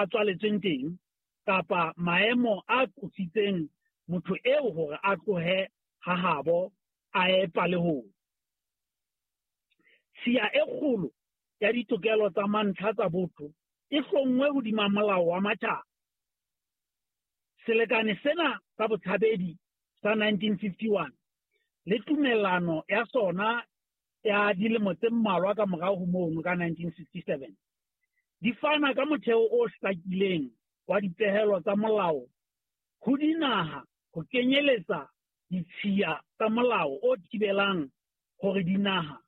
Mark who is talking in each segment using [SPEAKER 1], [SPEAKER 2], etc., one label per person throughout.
[SPEAKER 1] a tswaletsweng teng kapa maemo a qositseng motho eo hore a tlohe ha habo a ye palehong. Tshiya e kgolo ya ditokelo tsa mantlha tsa botho e hlonngwe hodima molao wa matjhaba. Selekane sena sa Botshabedi sa 1951 le tumellano ya sona ya dilemo tse mmalwa ka morao ho mono ka 1967 di fana ka motheo o hlakileng wa dipehelo tsa molao ho dinaha ho kenyeletsa ditshiya tsa molao o thibelang hore dinaha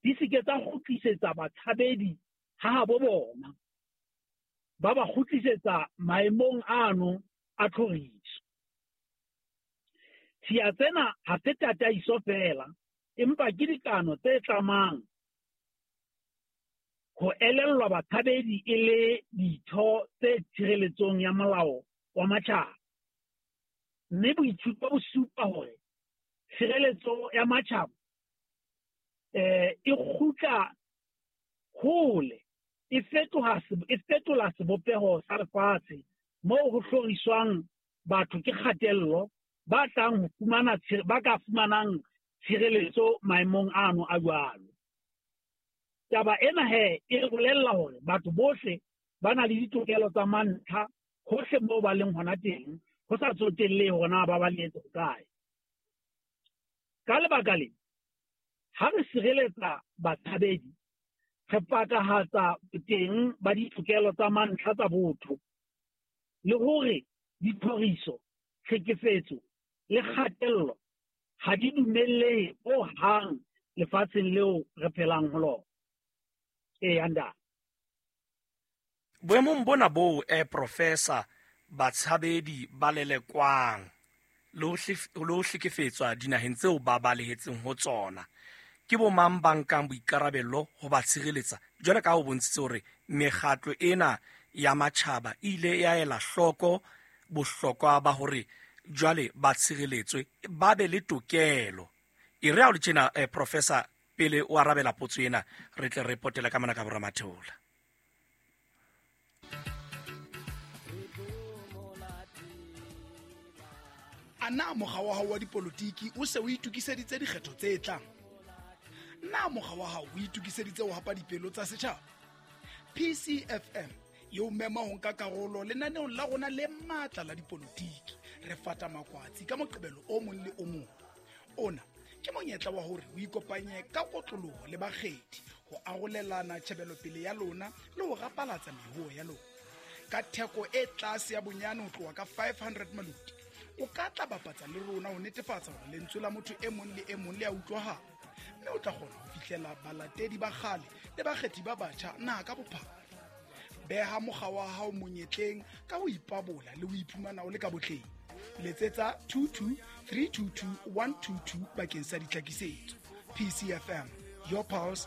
[SPEAKER 1] di se ke tsa kgutlisetsa batshabedi ha habo bona, ba ba kgutlisetsa maemong ano a tlhoriso. Tshiya tsena ha se tataiso feela, empa ke dikano tse tlamang ho elellwa batshabedi e le ditho tse tshireletsong ya molao wa matjhaba. Mme boithuto bo supa hore tshireletso ya matjhaba e kgutla hole, e fetoha e fetola sebopeho sa lefatshe moo ho hloriswang batho ke kgatello ba tlang ho fumana ba ka fumanang tshireletso maemong ano a jwalo. Taba ena he e re bolella hore batho bohle ba na le ditokelo tsa mantlha hohle moo ba leng hona teng, ho sa tsotellehe hore na ba balehetse hokae. Ka lebaka le, ha re sireletsa batshabedi, re pakahatsa boteng ba ditokelo tsa mantlha tsa botho le hore ditlhoriso, tlhekefetso le kgatello ha di dumellehe ho hang lefatsheng leo re phelang ho lona. Eya, ntate.
[SPEAKER 2] Boemong bona boo, Professor, batshabedi ba lelekwang le ho hlekefetswa dinaheng tseo ba balehetseng ho tsona, ke bo mang ba nkang boikarabello ho ba tshireletsa? Jwale ka ha o bontshitse hore mekgatlo ena ya matjhaba e ile ya ela hloko bohlokwa ba hore jwale ba tshireletswe, ba be le tokelo. E re ha o le tjena, Professor, pele o arabela potso ena, re tle re potele ka mona ka boramatheola.
[SPEAKER 3] A na mokga wa hao wa dipolotiki o se o itokiseditse dikgetho tse tlang? Na mokga wa hao o itokiseditse ho hapa dipelo tsa setjhaba? PCFM e o mema ho nka karolo lenaneong la rona le matla la dipolotiki. Re fata makwatsi ka Moqebelo o mong le o mong. Ona ke monyetla wa hore o ikopanye ka kotloloho le bakgethi ho arolelana tjhebelopele ya lona le ho rapalatsa mehoo ya lona. Ka theko e tlase ya bonyane ho tloha ka 500 maluti, o ka tla bapatsa le rona ho netefatsa hore lentswe la motho e mong le e mong le a utlwahala, mme o tla kgona ho fihlela balatedi ba kgale le bakgethi ba batjha naha ka bophara. Beha mokga wa hao monyetleng ka ho ipabola le ho iphumana o le ka botleng. Letsetsa 22 322 122 bakeng sa ditlhakisetso. PCFM, your pulse,